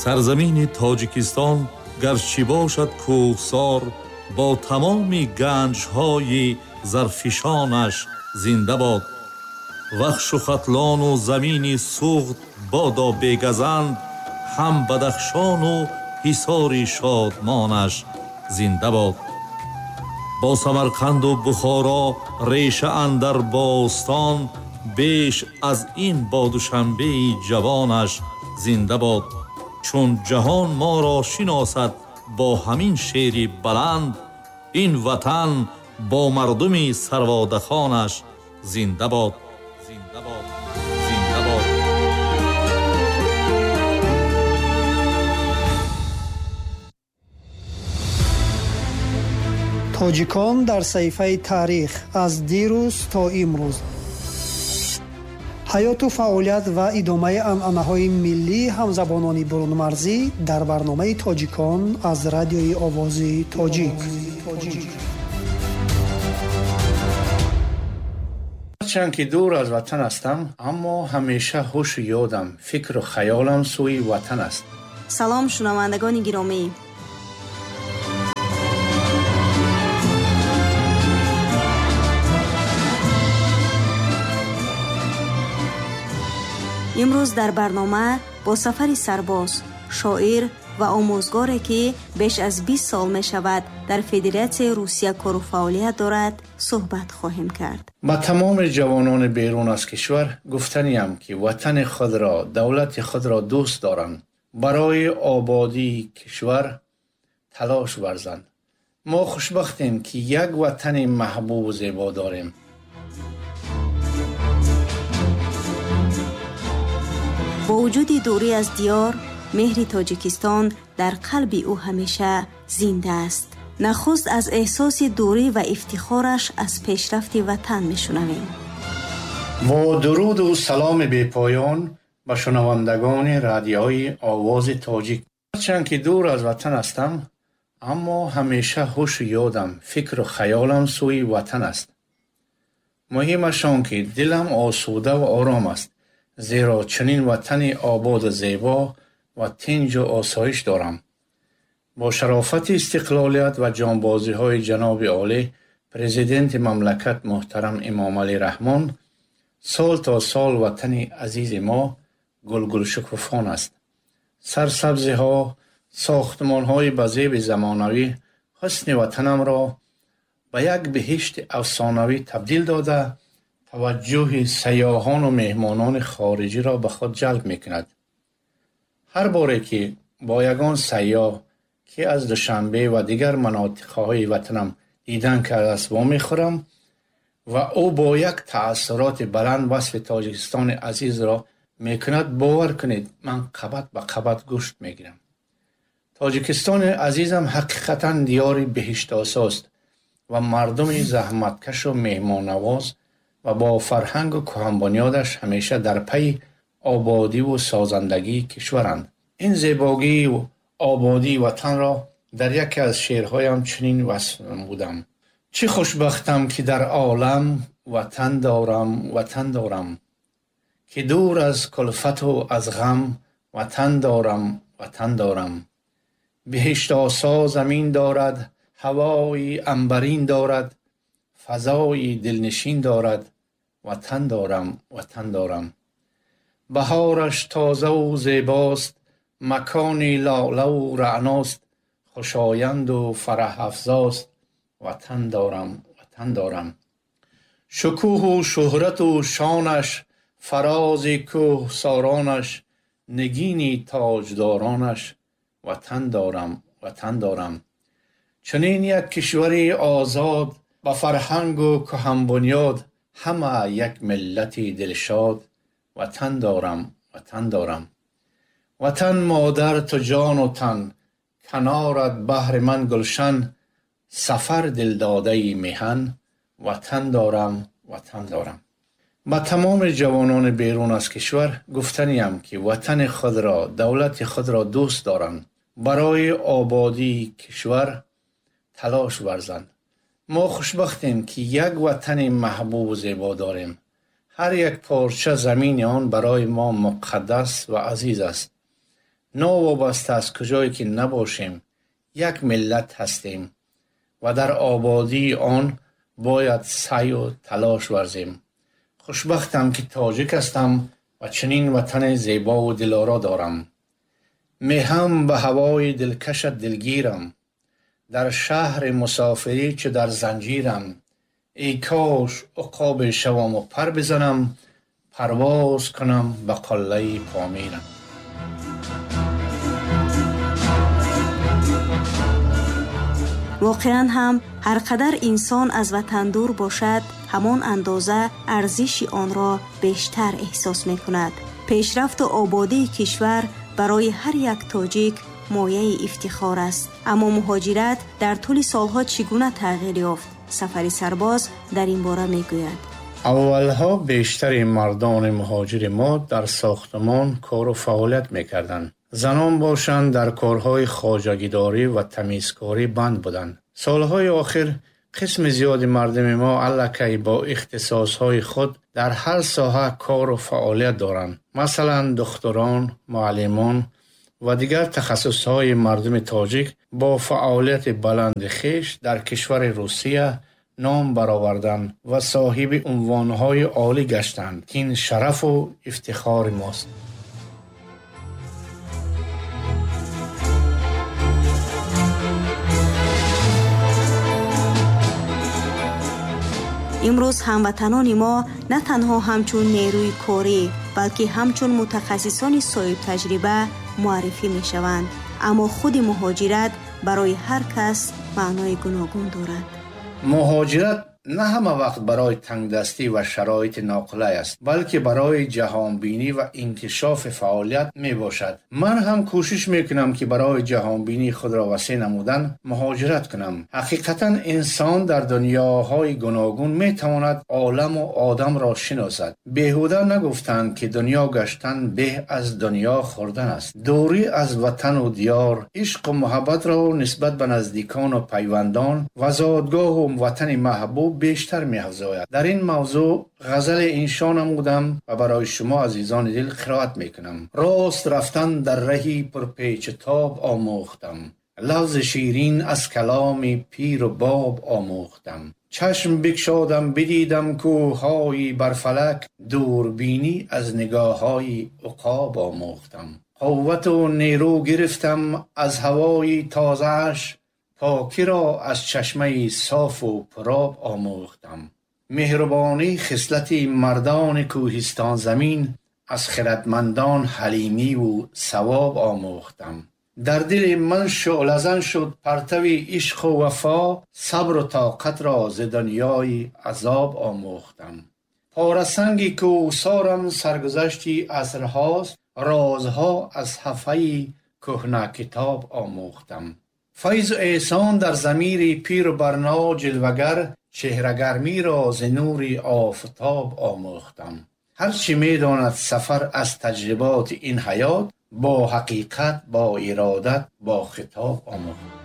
Сарзамини Тоҷикистон гарчи бошад кӯҳсор, бо тамоми ганҷҳои зарфишонаш зинда бод. Вахшу Хатлону замини Суғд бодо бегазанд, ҳам Бадахшону ҳисори шодмонаш зинда бод. Бо Самарқанду Бухоро реша андар бостон, беш аз ин бо Душанбеи ҷавонаш зинда бод. Чун ҷаҳон моро шиносад бо ҳамин шери баланд, ин ватан бо мардуми сарводахонаш зинда бод. Зинда бод. Зинда бод. Тоҷикон дар саҳифаи таърих аз дирӯз то имрӯз. Ҳаёту фаъолият ва идомаи анъанаҳои миллии ҳамзабонони бурунмарзӣ дар барномаи Тоҷикон аз радиои Овози Тоҷик. Ҳарчанд ки дур аз ватан ҳастам, аммо ҳамеша ҳушу ёдам, фикру хаёлам сӯи ватан аст. Салом, шунавандагони гиромӣ. Имрӯз дар барнома бо Сафари Сарбоз, шоир ва омӯзгоре, ки беш аз 20 сол мешавад дар Федератсияи Русия кору фаъолият дорад, суҳбат хоҳем кард. Ба тамоми ҷавонони берун аз кишвар гуфтаниям, ки ватани худро, давлати худро дӯст доранд, барои ободии кишвар талош варзанд. Мо хушбахтем, ки як ватани маҳбубу зебо дорем. Бо вуҷуди дурӣ аз диёр, меҳри Тоҷикистон дар қалби ӯ ҳамеша зинда аст. Нахуст аз эҳсоси дурӣ ва ифтихораш аз пешрафти ватан мешунавем. Бо дуруду саломи бепоён ба шунавандагони радиои Овози Тоҷик. Ҳарчанд ки дур аз ватан ҳастам, аммо ҳамеша ҳушу ёдам, фикру хаёлам сӯи ватан аст. Муҳимаш он ки дилам осуда ва ором аст, зеро чунин ватани ободу зебо ва тинҷу осоиш дорам. Бо шарофати истиқлолият ва ҷонбозиҳои ҷаноби олӣ, президенти мамлакат муҳтарам Эмомалӣ Раҳмон, сол то сол ватани азизи мо гулгулшукуфон аст. Сарсабзиҳо, сохтмонҳои ба зеби замонавӣ ҳусни ватанамро ба як биҳишти афсонавӣ табдил дода, таваҷҷӯҳи сайёҳону меҳмонони хориҷиро ба худ ҷалб мекунад. Ҳар боре ки бо ягон сайёҳ, ки аз Душанбе ва дигар манотиқҳои ватанам дидан кардааст, вомехӯрам ва ӯ бо як таассуроти баланд васфи Тоҷикистони азизро мекунад, бовар кунед, ман қабат ба қабат гӯшт мегирам. Тоҷикистони азизам ҳақиқатан диёри биҳиштосост ва мардуми заҳматкашу меҳмоннавоз ва бо фарҳангу кӯҳанбунёдаш ҳамеша дар пайи ободиву созандагии кишваранд. Ин зебогию ободии ватанро дар яке аз шеърҳоям чунин васф намудам: чӣ хушбахтам, ки дар олам ватан дорам, ватан дорам, ки дур аз кулфату аз ғам ватан дорам, ватан дорам. Биҳиштосо замин дорад, ҳавои анбарин дорад, фазои дилнишин дорад, ватан дорам, ватан дорам. Баҳораш тозаву зебост, макони лолаву раъност, хушоянду фараҳафзост, ватан дорам, ватан дорам. Шукӯҳу шӯҳрату шонаш, фарози кӯҳсоронаш, нигини тоҷдоронаш, ватан дорам, ватан дорам. Чунин як кишвари озод, ба фарҳангу кӯҳанбунёд, ҳама як миллати дилшод, ватан дорам, ватан дорам. Ватан модар ту ҷону тан, канорат баҳри ман гулшан, сафар дилдодаи меҳан, ватан дорам, ватан дорам. Ба тамоми ҷавонони берун аз кишвар гуфтаниям, ки ватани худро, давлати худро дӯст доранд, барои ободии кишвар талош варзанд. Мо хушбахтем, ки як ватани маҳбубу зебо дорем. Ҳар як порча замини он барои мо муқаддас ва азиз аст. Новобаста аз куҷое ки набошем, як миллат ҳастем ва дар ободии он бояд саъю талош варзем. Хушбахтам, ки тоҷик ҳастам ва чунин ватани зебову дилоро дорам. Меҳам ба ҳавои дилкашат дилгирам, дар шаҳри мусофирӣ чу дар занҷирам. Эй кош уқобе шаваму пар бизанам, парвоз кунам ба қуллаи Помирам. Воқеан ҳам ҳар қадар инсон аз ватан дур бошад, ҳамон андоза арзиши онро бештар эҳсос мекунад. Пешрафту ободии кишвар барои ҳар як тоҷик мояи ифтихор аст. Аммо муҳоҷират дар тӯли солҳо чӣ гуна тағйир ёфт? Сафари Сарбоз дар ин бора мегӯяд. Аввалҳо бештари мардони муҳоҷири мо дар сохтмон кору фаъолият мекарданд. Занон бошанд дар корҳои хоҷагидорӣ ва тамизкорӣ банд буданд. Солҳои охир қисми зиёди мардуми мо аллакай бо ихтисосҳои худ дар ҳар соҳа кору фаъолият доранд. Масалан, духтурон, муаллимон ва дигар тахассусҳои мардуми тоҷик бо фаъолияти баланди хеш дар кишвари Русия ном бароварданд ва соҳиби унвонҳои олӣ гаштанд, ки ин шарафу ифтихори мост. Имрӯз ҳамватанони мо на танҳо ҳамчун нерӯи корӣ, балки ҳамчун мутахассисони соҳибтаҷриба муаррифӣ мешаванд. Аммо худи муҳоҷират барои ҳар кас маънои гуногун дорад. Муҳоҷират на ҳама вақт барои тангдастӣ ва шароити ноқулай аст, балки барои ҷаҳонбинӣ ва инкишофи фаъолият мебошад. Ман ҳам кӯшиш мекунам, ки барои ҷаҳонбинии худро васеъ намудан муҳоҷират кунам. Ҳақиқатан инсон дар дунёҳои гуногун метавонад оламу одамро шиносад. Беҳуда нагуфтанд, ки дунё гаштан беҳ аз дунё хӯрдан аст. Дурӣ аз ватану диёр, ишқу муҳаббатро нисбат ба наздикону пайвандон ва зодгоҳу ватани маҳбуб бештар меафзояд. Дар ин мавзӯъ ғазали иншо намудам ва барои шумо азизони дил қироат мекунам. Рост рафтан дар раҳи пурпечу тоб омӯхтам, лафзи ширин аз каломи пиру боб омӯхтам. Чашм бикшодам бидидам кӯҳҳои барфалак, дурбинӣ аз нигоҳҳои уқоб омӯхтам. Қуввату нерӯ гирифтам аз ҳавои тозааш, покиро аз чашмаи софу пуроб омӯхтам. Меҳрубонӣ хислати мардони кӯҳистонзамин, аз хиратмандон ҳалимиву савоб омӯхтам. Дар дили ман шӯълазан шуд партави ишқу вафо, сабру тоқатро зи дунёи азоб омӯхтам. Порасанги кӯҳсорам саргузашти асрҳост, розҳо аз ҳафаи кӯҳнакитоб омӯхтам. Файзу эҳсон дар замири пиру барно ҷилвагар, чеҳрагармиро зи нури офтоб омӯхтам. Ҳар чӣ медонад сафар аз таҷриботи ин ҳаёт, бо ҳақиқат, бо иродат, бо хитоб омӯхтам.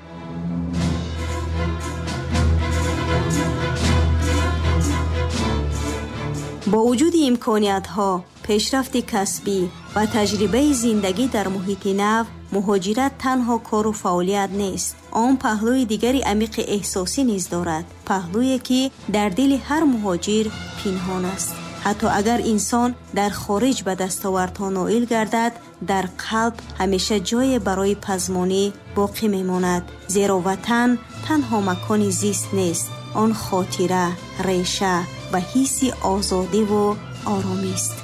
Бо вуҷуди имкониятҳо, пешрафти касбӣ ва таҷрибаи зиндагӣ дар муҳити нав, муҳоҷират танҳо кору фаъолият нест. Он паҳлӯи дигари амиқи эҳсосӣ низ дорад, паҳлӯе ки дар дили ҳар муҳоҷир пинҳон аст. Ҳатто агар инсон дар хориҷ ба дастовардҳо ноил гардад, дар қалб ҳамеша ҷое барои пазмонӣ боқӣ мемонад, зеро ватан танҳо макони зист нест, он хотира, реша ва ҳисси озодиву оромист.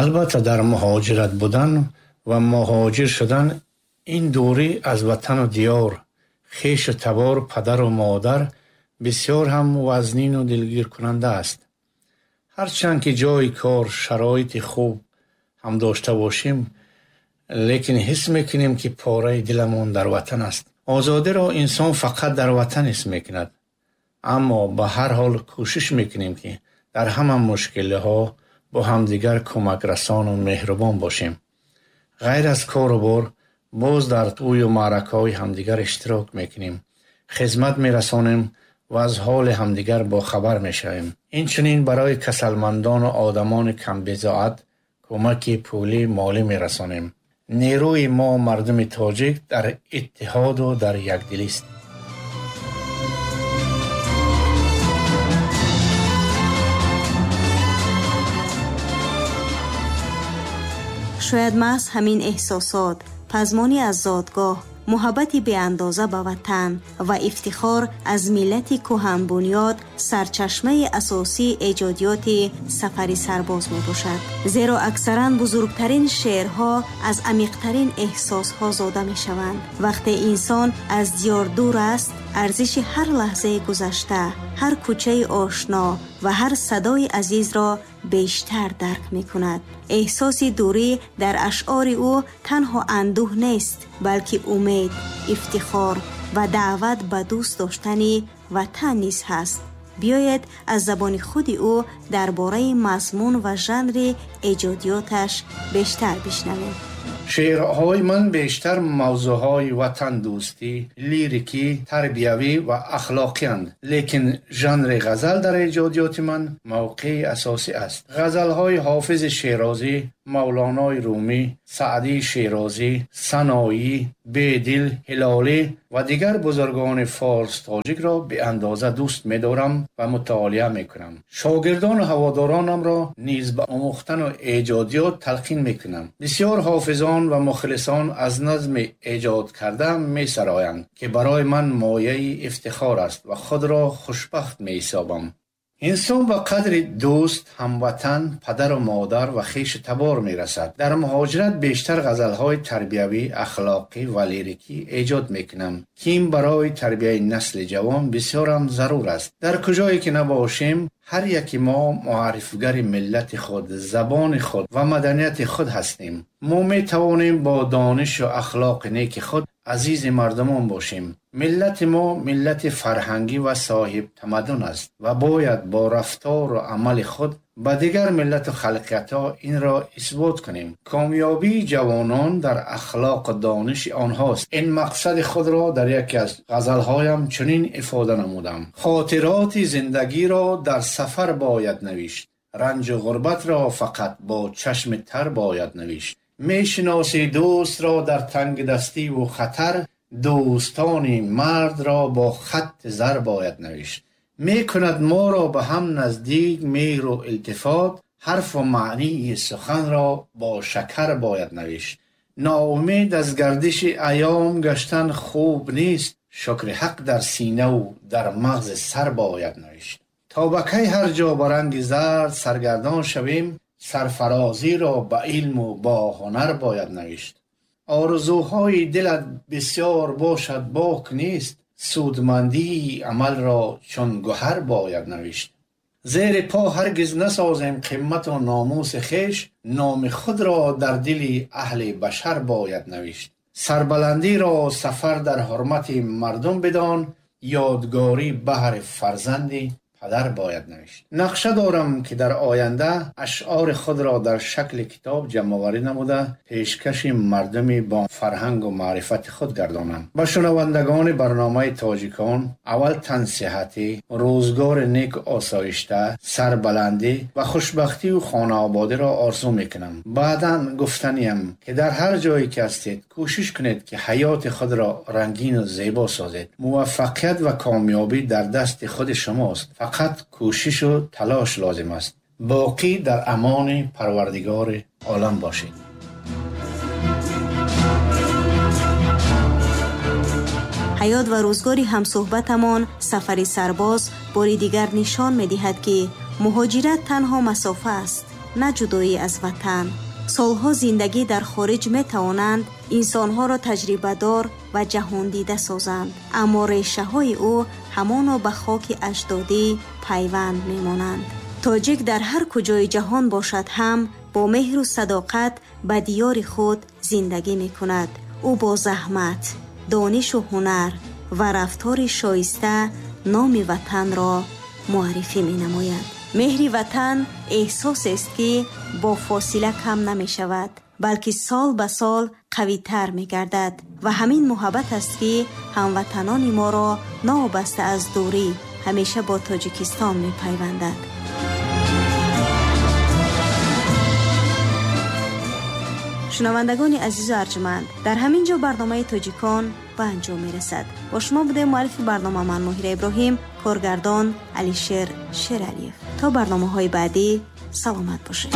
Албатта, дар муҳоҷират будан ва муҳоҷир шудан ин дурӣ аз ватану диёр, хешу табор, падару модар бисёр ҳам вазнину дилгиркунанда аст. Ҳарчанд ки ҷои кор, шароити хуб ҳам дошта бошем, лекин ҳис мекунем, ки пораи диламон дар ватан аст. Озодиро инсон фақат дар ватан ҳис мекунад, аммо ба ҳар ҳол кӯшиш мекунем, ки дар ҳама мушкилиҳо бо ҳамдигар кӯмакрасону меҳрубон бошем. Ғайр аз кору бор, боз дар тӯю маъракаҳои ҳамдигар иштирок мекунем, хизмат мерасонем ва аз ҳоли ҳамдигар бохабар мешавем. Инчунин барои касалмандону одамони камбизоат кӯмаки пулӣ, молӣ мерасонем. Нерӯи мо мардуми тоҷик дар иттиҳоду дар якдилист. Шояд маҳз ҳамин эҳсосот, пазмонӣ аз зодгоҳ, муҳаббати беандоза ба ватан ва ифтихор аз миллати кӯҳанбунёд сарчашмаи асосии эҷодиёти Сафари Сарбоз мебошад. Зеро аксаран бузургтарин шеърҳо аз амиқтарин эҳсосҳо зода мешаванд. Вақте инсон аз диёр дур аст, арзиши ҳар лаҳзаи гузашта, ҳар кӯчаи ошно ва ҳар садои азизро бештар дарк мекунад. Эҳсоси дурӣ дар ашъори ӯ танҳо андӯҳ нест, балки умед, ифтихор ва даъват ба дӯст доштани ватан низ ҳаст. Биёед аз забони худи ӯ дар бораи мазмун ва жанри эҷодиёташ бештар бишнавем. Шеърҳои ман бештар мавзӯъҳои ватандӯстӣ, лирикӣ, тарбиявӣ ва ахлоқианд. Лекин жанри ғазал дар эҷодиёти ман мавқеи асосӣ аст. Ғазалҳои Ҳофизи Шерозӣ, Мавлонои Румӣ, Саъдии Шерозӣ, Саноӣ, Бедил, Ҳилолӣ ва дигар бузургони форс тоҷикро беандоза дӯст медорам ва мутолиа мекунам. Шогирдону ҳаводоронамро низ ба омӯхтану эҷодиёт талқин мекунам. Бисёр ҳофизон ва мухлисон аз назми эҷод кардаам месароянд, ки барои ман мояи ифтихор аст ва худро хушбахт меҳисобам. Инсон ба қадри дӯст, ҳамватан, падару модар ва хешу табор мерасад. Дар муҳоҷират бештар ғазалҳои тарбиявӣ, ахлоқӣ ва лирикӣ эҷод мекунам, ки ин барои тарбияи насли ҷавон бисёрам зарур аст. Дар куҷое ки набошем, ҳар яки мо муаррифгари миллати худ, забони худ ва маданияти худ ҳастем. Мо метавонем бо донишу ахлоқи неки худ азизи мардумон бошем. Миллати мо миллати фарҳангӣ ва соҳибтамаддун аст ва бояд бо рафтору амали худ ба дигар миллату халқиятҳо инро исбот кунем. Комёбии ҷавонон дар ахлоқу дониши онҳост. Ин мақсади худро дар яке аз ғазалҳоям чунин ифода намудам: хотироти зиндагиро дар сафар бояд навишт, ранҷу ғурбатро фақат бо чашми тар бояд навишт. Мешиноси дӯстро дар тангдастиву хатар, дӯстони мардро бо хатти зар бояд навишт. Мекунад моро ба ҳам наздик меҳру илтифот, ҳарфу маънии суханро бо шакар бояд навишт. Ноумед аз гардиши айём гаштан хуб нест, шукри ҳақ дар синаву дар мағзи сар бояд навишт. То ба кай ҳар ҷо ба ранги зард саргардон шавем, сарфарозиро ба илму бо ҳунар бояд навишт. Орзуҳои дилат бисёр бошад бок нест, судмандии амалро чун гӯҳар бояд навишт. Зери по ҳаргиз насозем қимату номуси хеш, номи худро дар дили аҳли башар бояд навишт. Сарбаландиро сафар дар ҳурмати мардум бидон, ёдгорӣ баҳри фарзанди падар бояд навишт. Нақша дорам, ки дар оянда ашъори худро дар шакли китоб ҷамъоварӣ намуда пешкаши мардуми бо фарҳангу маърифати худ гардонам. Ба шунавандагони барномаи тоҷикон аввал тансиҳатӣ, рӯзгори неку осоишта, сарбаландӣ ва хушбахтию хонаободиро орзу мекунам. Баъдан гуфтаниям, ки дар ҳар ҷое ки ҳастед, кӯшиш кунед, ки ҳаёти худро рангину зебо созед. Муваффақият ва комёбӣ дар дасти худи шумост. Фақат кӯшишу талош лозим аст. Боқӣ дар амони Парвардигори олам бошед. Ҳаёт ва рӯзгори ҳамсӯҳбатамон Сафари Сарбоз бори дигар нишон медиҳад, ки муҳоҷират танҳо масофа аст, на ҷудоӣ аз ватан. Солҳо зиндагӣ дар хориҷ метавонанд инсонҳоро таҷрибадор ва ҷаҳондида созанд, аммо решаҳои ӯ ҳамоно ба хоки аҷдодӣ пайванд мемонанд. Тоҷик дар ҳар куҷои ҷаҳон бошад ҳам бо меҳру садоқат ба диёри худ зиндагӣ мекунад. Ӯ бо заҳмат, донишу ҳунар ва рафтори шоиста номи ватанро муаррифӣ менамояд. Меҳри ватан эҳсосест, ки бо фосила кам намешавад, балки сол ба сол қавитар мегардад ва ҳамин муҳаббат аст, ки ҳамватанони моро новобаста аз дурӣ ҳамеша бо Тоҷикистон мепайвандад. Шунавандагони азизу арҷманд, дар ҳамин ҷо барномаи Тоҷикон ба анҷом мерасад. Бо шумо будем муаллифи барнома ман, Моҳира Иброҳим, коргардон Алишер Шералиев. То барномаҳои баъдӣ саломат бошед.